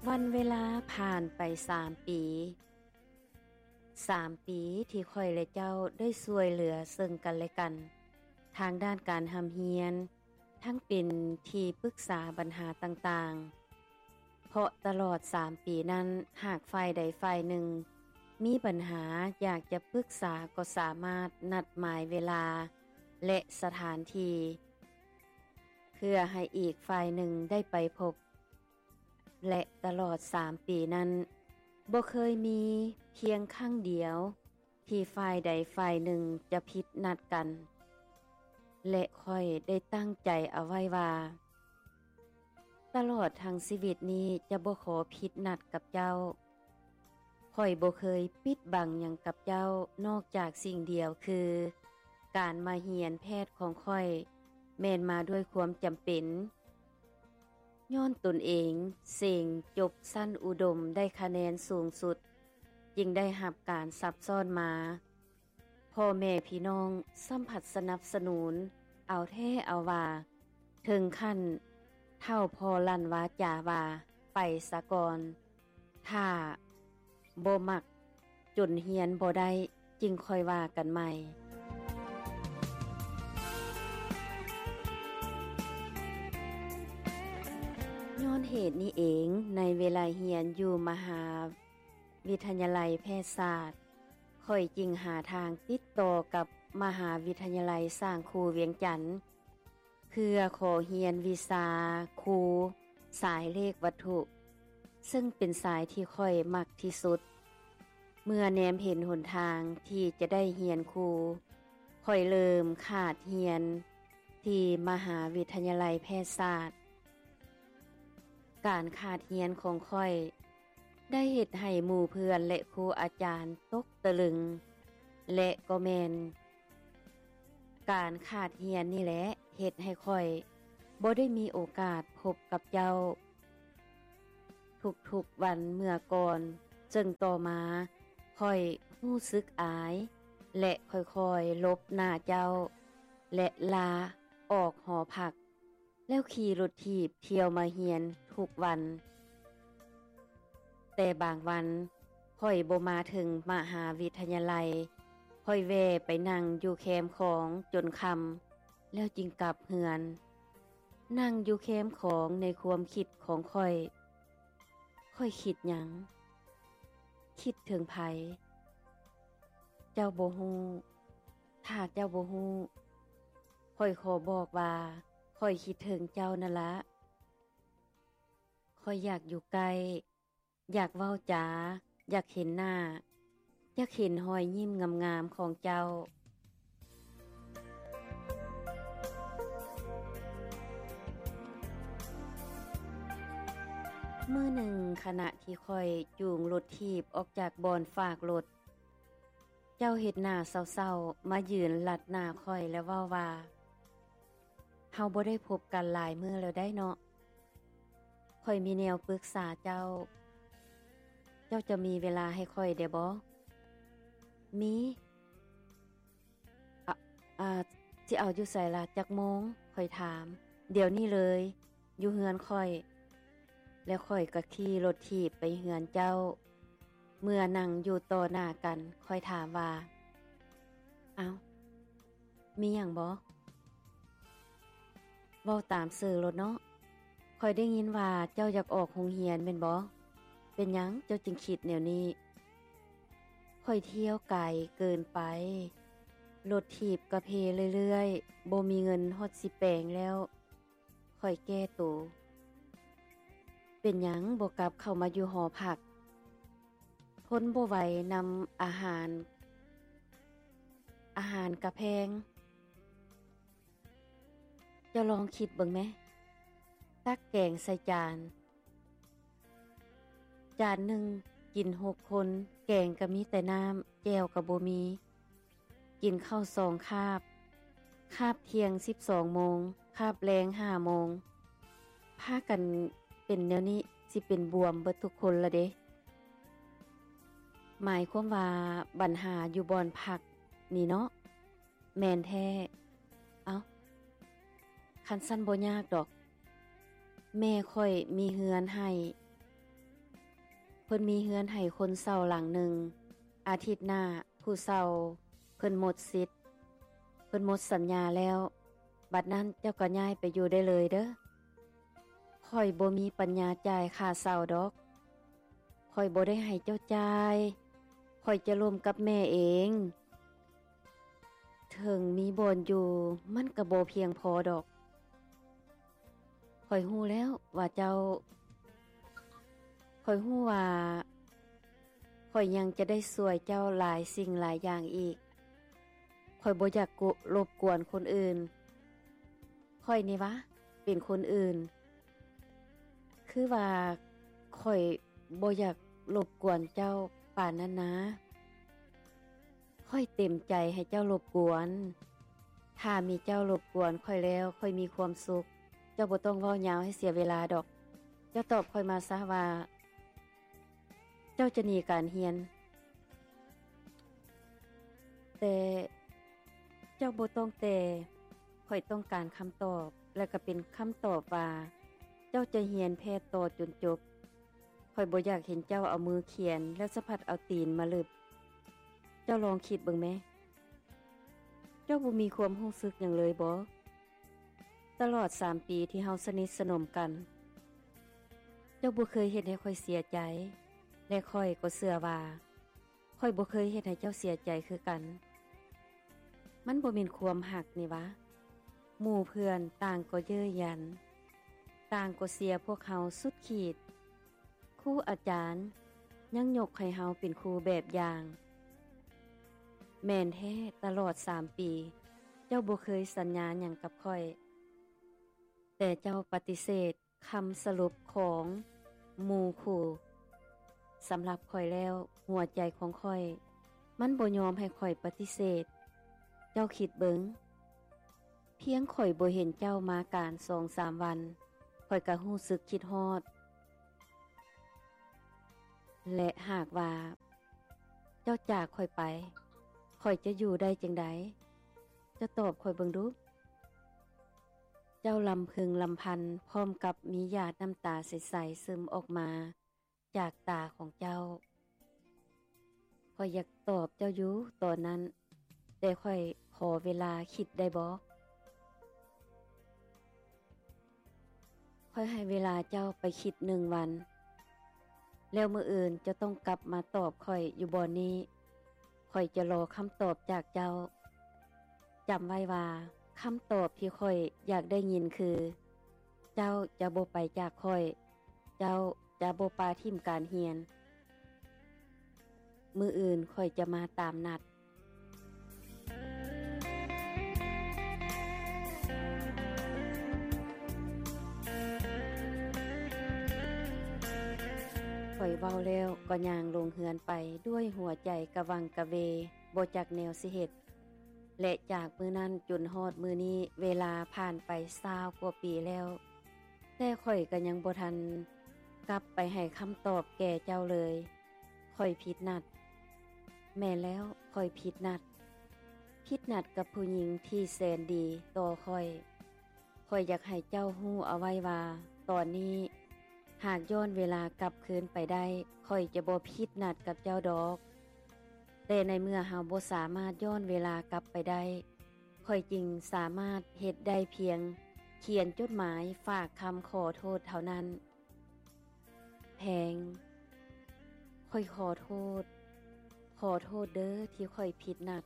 ວັນເວລາຜ່ານໄປສາມປີ. ສາມປີທີ່ຂ້ອຍແລະເຈົ້າໄດ້ຊ່ວຍເຫຼືອເຊິ່ງກັນແລະກັນ ທາງດ້ານການຮ່ຳຮຽນ, ທັງເປັນທີ່ປຶກສາບັນຫາຕ່າງໆ. ເພາະຕະຫຼອດສາມປີນັ້ນ, ຫາກຝ່າຍໃດຝ່າຍໜຶ່ງມີບັນຫາຢາກຈະປຶກສາ ກໍສາມາດນັດໝາຍເວລາ ແລະ ສະຖານທີ່ ເພື່ອໃຫ້ອີກຝ່າຍໜຶ່ງໄດ້ໄປພົບ. ແລະ ຕະຫຼອດສາມປີນັ້ນ, ບໍ່ເຄີຍມີພຽງຄັ້ງດຽວທີ່ຝ່າຍໃດຝ່າຍໜຶ່ງຈະຜິດນັດກັນ ແລະ ຂ້ອຍໄດ້ຕັ້ງໃຈເອົາໄວ້ວ່າ ຕະຫຼອດທັງຊີວິດນີ້ຈະບໍ່ຂໍຜິດນັດກັບເຈົ້າ. ຂ້ອຍບໍ່ເຄີຍປິດບັງຫຍັງກັບເຈົ້າ ນອກຈາກສິ່ງດຽວຄື ການມາຮຽນແພດຂອງຂ້ອຍແມ່ນມາດ້ວຍຄວາມຈຳເປັນ. ຍ້ອນຕົນເອງເສັງຈົບຊັ້ນອຸດົມໄດ້ຄະແນນສູງສຸດ, ຈຶ່ງໄດ້ຮັບການຊັບຊ້ອນມາ. ພໍ່ແມ່ພີ່ນ້ອງຊ້ຳພັດສະໜັບສະໜູນເອົາແທ້ເອົາວ່າ, ເຖິງຂັ້ນເຖົ້າພໍ່ລັ່ນວາຈາວ່າ, ໄປສາກ່ອນ, ຖ້າບໍ່ມັກຈົນຮຽນບໍ່ໄດ້, ຈຶ່ງຄ່ອຍວ່າກັນໃໝ່. ຍ້ອນເຫດນີ້ເອງ, ໃນເວລາຮຽນຢູ່ມະຫາວິທະຍາໄລແພດສາດ, ຂ້ອຍຈຶ່ງຫາທາງຕິດຕໍ່ກັບມະຫາວິທະຍາໄລສ້າງຄູວຽງຈັນ ເພື່ອຂໍຮຽນວິຊາຄູສາຍເລກວັດຖຸ, ເຊິ່ງເປັນສາຍທີ່ຂ້ອຍມັກທີ່ສຸດ. ເມື່ອແນມເຫັນຫົນທາງທີ່ຈະໄດ້ຮຽນຄູ, ຂ້ອຍເລີ່ມຂາດຮຽນທີ່ມະຫາວິທະຍາໄລແພດສາດ. ການຂາດຮຽນຂອງຂ້ອຍ ໄດ້ເຮັດໃຫ້ໝູ່ເພື່ອນ ແລະ ຄູອາຈານຕົກຕະລຶງ ແລະ ກໍແມ່ນການຂາດຮຽນນີ້ແຫຼະ ເຮັດໃຫ້ຂ້ອຍບໍ່ໄດ້ມີໂອກາດພົບກັບເຈົ້າທຸກໆວັນເມື່ອກ່ອນ, ເຊິ່ງຕໍ່ມາຂ້ອຍຮູ້ສຶກອາຍ ແລະ ຄ່ອຍໆຫຼົບໜ້າເຈົ້າ ແລະ ລາອອກຫໍພັກ. ແລ້ວຂີ່ລົດຖີບທ່ຽວມາຮຽນທຸກວັນ. ແຕ່ບາງວັນຂ້ອຍບໍ່ມາເຖິງມະຫາວິທະຍາໄລ, ຂ້ອຍແວ່ໄປນັ່ງຢູ່ແຄມຂອງຈົນຄ່ຳ ແລ້ວຈຶ່ງກັບເຮືອນ. ນັ່ງຢູ່ແຄມຂອງໃນຄວາມຄິດຂອງຂ້ອຍ, ຂ້ອຍຄິດຫຍັງ? ຄິດເຖິງໃຜ? ເຈົ້າບໍ່ຮູ້. ຖ້າເຈົ້າບໍ່ຮູ້, ຂ້ອຍຂໍບອກວ່າ ຂ້ອຍຄິດເຖິງເຈົ້ານັ້ນລະ. ຂ້ອຍຢາກຢູ່ໃກ້, ຢາກເວົ້າຈາ, ຢາກເຫັນໜ້າ, ຢາກເຫັນຮອຍຍິ້ມງາມໆຂອງເຈົ້າ. ມື້ໜຶ່ງ, ຂະນະທີ່ຂ້ອຍຈູງລົດຖີບອອກຈາກບ່ອນຝາກລົດ, ເຈົ້າເຮັດໜ້າເສົ້າໆ ມາຢືນລັດໜ້າຂ້ອຍ ແລະ ເວົ້າວ່າ, ເຮົາບໍ່ໄດ້ພົບກັນຫຼາຍມື້ແລ້ວໄດ໋ເນາະ. ຂ້ອຍມີແນວປຶກສາເຈົ້າ. ເຈົ້າຈະມີເວລາໃຫ້ຂ້ອຍໄດ້ບໍ່? ມີ. ອາ, ອາ, ຊິເອົາຢູ່ໃສລະ? ຈັກໂມງ? ຂ້ອຍຖາມ. ດຽວນີ້ເລີຍ. ຢູ່ເຮືອນຂ້ອຍ ແລ້ວຂ້ອຍກໍຂີ່ລົດຖີບໄປເຮືອນເຈົ້າ. ເມື່ອນັ່ງຢູ່ຕໍ່ໜ້າກັນ, ຂ້ອຍຖາມວ່າ, ເອົ້າ, ມີຫຍັງບໍ? ເວົ້າຕາມຊື່ໂລດເນາະ. ຂ້ອຍໄດ້ຍິນວ່າເຈົ້າຢາກອອກໂຮງຮຽນແມ່ນບໍ? ເປັນຫຍັງເຈົ້າຈຶ່ງຄິດແນວນີ້? ຂ້ອຍທ່ຽວໄກເກີນໄປ. ລົດຖີບກະເພເລື້ອຍໆ, ບໍ່ມີເງິນຮອດຊິແປງແລ້ວ. ຂ້ອຍແກ້ໂຕ. ເປັນຫຍັງບໍ່ກັບເຂົ້າມາຢູ່ຫໍພັກ? ທົນບໍ່ໄຫວນຳອາຫານ, ອາຫານກະແພງ. ເຈົ້າລອງຄິດເບິ່ງແມ, ຕັກແກງໃສ່ຈານ, ຈານໜຶ່ງກິນຫົກຄົນ, ແກງກະມີແຕ່ນ້ຳ, ແຈ່ວກະບໍ່ມີ. ກິນເຂົ້າສອງຄາບ, ຄາບທ່ຽງສິບສອງໂມງ, ຄາບແລງຫ້າໂມງ. ພາກັນເປັນແນວນີ້, ຊິເປັນບວມເບິດທຸກຄົນລະເດ. ໝາຍຄວາມວ່າບັນຫາຢູ່ບ່ອນພັກນີ້ເນາະ? ແມ່ນແທ້. ເອົ້າ, ຄັນຊັ້ນບໍ່ຍາກດອກ. ແມ່ຂ້ອຍມີເຮືອນໃຫ້, ພິ່ນມີເຮືອນໃຫ້ຄົນເຊົ່າຫຼັງໜຶ່ງ. ອາທິດໜ້າຜູ້ເຊົ່າເພິ່ນໝົດສິດ, ເພິ່ນໝົດສັນຍາແລ້ວ. ບັດນັ້ນເຈົ້າກໍຍ້າຍໄປຢູ່ໄດ້ເລີຍເດີ້. ຂ້ອຍບໍ່ມີປັນຍາຈ່າຍຄ່າເຊົ່າດອກ. ຂ້ອຍບໍ່ໄດ້ໃຫ້ເຈົ້າຈ່າຍ. ຂ້ອຍຈະລົມກັບແມ່ເອງ. ເຖິງມີບ່ອນຢູ່, ມັນກໍບໍ່ພຽງພໍດອກ. ຂ້ອຍຮູ້ແລ້ວວ່າເຈົ້າ, ຂ້ອຍຮູ້ວ່າຂ້ອຍຍັງຈະໄດ້ຊ່ວຍເຈົ້າຫຼາຍສິ່ງຫຼາຍຢ່າງອີກ. ຂ້ອຍບໍ່ຢາກໂກ ລົບກວນຄົນອື່ນ. ຂ້ອຍນີ້ຫວາ ເປັນຄົນອື່ນ? ຄືວ່າຂ້ອຍບໍ່ຢາກລົບກວນເຈົ້າປານນັ້ນນາ. ຂ້ອຍເຕັມໃຈໃຫ້ເຈົ້າລົບກວນ. ຖ້າມີເຈົ້າລົບກວນຂ້ອຍແລ້ວ, ຂ້ອຍມີຄວາມສຸກ. ເຈົ້າບໍ່ຕ້ອງເວົ້າຍາວໃຫ້ເສຍເວລາດອກ. ເຈົ້າຕອບຂ້ອຍມາຊະວ່າ ເຈົ້າຈະໜີການຮຽນ. ແຕ່ເຈົ້າບໍ່ຕ້ອງແຕ່. ຂ້ອຍຕ້ອງການຄຳຕອບ, ແລະ ກໍເປັນຄຳຕອບວ່າ ເຈົ້າຈະຮຽນແພດຕໍ່ຈົນຈົບ. ຂ້ອຍບໍ່ຢາກເຫັນເຈົ້າເອົາມືຂຽນ ແລ້ວສະພັດເອົາຕີນມາລຶບ. ເຈົ້າລອງຄິດເບິ່ງແມ. ເຈົ້າບໍ່ມີຄວາມຮູ້ສຶກຫຍັງເລີຍບໍ? ຕະຫຼອດສາມປີທີ່ເຮົາສະໜິດສະໜົມກັນ, ເຈົ້າບໍ່ເຄີຍເຮັດໃຫ້ຂ້ອຍເສຍໃຈ, ແລະ ຂ້ອຍກໍເຊື່ອວ່າ ຂ້ອຍບໍ່ເຄີຍເຮັດໃຫ້ເຈົ້າເສຍໃຈຄືກັນ. ມັນບໍ່ແມ່ນຄວາມຮັກນີ້ຫວາ? ໝູ່ເພື່ອນຕ່າງກໍເຍີ້ຍຢັນ, ຕ່າງກໍເຊຍພວກເຮົາສຸດຂີດ. ຄູອາຈານຍັງຍົກໃຫ້ເຮົາເປັນຄູແບບຢ່າງ. ແມ່ນແທ້, ຕະຫຼອດສາມປີ, ເຈົ້າບໍ່ເຄີຍສັນຍາຫຍັງກັບຂ້ອຍ, ແຕ່ເຈົ້າປະຕິເສດ ຄຳສະຫຼຸບຂອງໝູ່ຄູ່. ສຳລັບຂ້ອຍແລ້ວ, ຫົວໃຈຂອງຂ້ອຍ ມັນບໍ່ຍອມໃຫ້ຂ້ອຍປະຕິເສດ. ເຈົ້າຄິດເບິ່ງ, ພຽງຂ້ອຍບໍ່ເຫັນເຈົ້າມາການສອງສາມວັນ, ຂ້ອຍກໍຮູ້ສຶກຄິດຮອດ. ແລະ ຫາກວ່າເຈົ້າຈາກຂ້ອຍໄປ, ຂ້ອຍຈະຢູ່ໄດ້ຈັ່ງໃດ? ເຈົ້າຕອບຂ້ອຍເບິ່ງດູ. ເຈົ້າລຳເພິງລຳພັນ ພ້ອມກັບມີຫຍາດນ້ຳຕາໃສໆ ຊຶມອອກມາຈາກຕາຂອງເຈົ້າ. ຂ້ອຍຢາກຕອບເຈົ້າຢູ່ຕອນນັ້ນ, ແຕ່ຂ້ອຍຂໍເວລາຄິດໄດ້ບໍ່? ຂ້ອຍໃຫ້ເວລາເຈົ້າໄປຄິດໜຶ່ງວັນ, ແລ້ວມື້ອື່ນເຈົ້າຕ້ອງກັບມາຕອບຂ້ອຍຢູ່ບ່ອນນີ້. ຂ້ອຍຈະລໍຄຳຕອບຈາກເຈົ້າ. ຈຳໄວ້ວ່າ ຄຳຕອບທີ່ຂ້ອຍຢາກໄດ້ຍິນຄື ເຈົ້າຈະບໍ່ໄປຈາກຂ້ອຍ, ເຈົ້າຈະບໍ່ປະຖິ້ມການຮຽນ. ມື້ອື່ນຂ້ອຍຈະມາຕາມນັດ. ຂ້ອຍເວົ້າແລ້ວກໍຍ່າງລົງເຮືອນໄປດ້ວຍຫົວໃຈກະວັງກະເວ, ບໍ່ຈັກແນວຊິເຮັດ. ແລະ ຈາກມື້ນັ້ນຈົນຮອດມື້ນີ້, ເວລາຜ່ານໄປຊາວກວ່າປີແລ້ວ, ແຕ່ຂ້ອຍກໍຍັງບໍ່ທັນກັບໄປໃຫ້ຄຳຕອບແກ່ເຈົ້າເລີຍ. ຂ້ອຍຜິດນັດ. ແມ່ນແລ້ວ, ຂ້ອຍຜິດນັດ. ຜິດນັດກັບຜູ້ຍິງທີ່ແສນດີຕໍ່ຂ້ອຍ. ຂ້ອຍຢາກໃຫ້ເຈົ້າຮູ້ເອົາໄວ້ວ່າ ຕອນນີ້ ຫາກຍ້ອນເວລາກັບຄືນໄປໄດ້, ຂ້ອຍຈະບໍ່ຜິດນັດກັບເຈົ້າດອກ. ແຕ່ໃນເມື່ອເຮົາບໍ່ສາມາດຍ້ອນເວລາກັບໄປໄດ້, ຂ້ອຍຈຶ່ງສາມາດເຮັດໄດ້ພຽງຂຽນຈົດໝາຍຝາກຄຳຂໍໂທດເທົ່ານັ້ນ. ແພງ, ຂ້ອຍຂໍໂທດ, ຂໍໂທດເດີ້ທີ່ຂ້ອຍຜິດນັດ.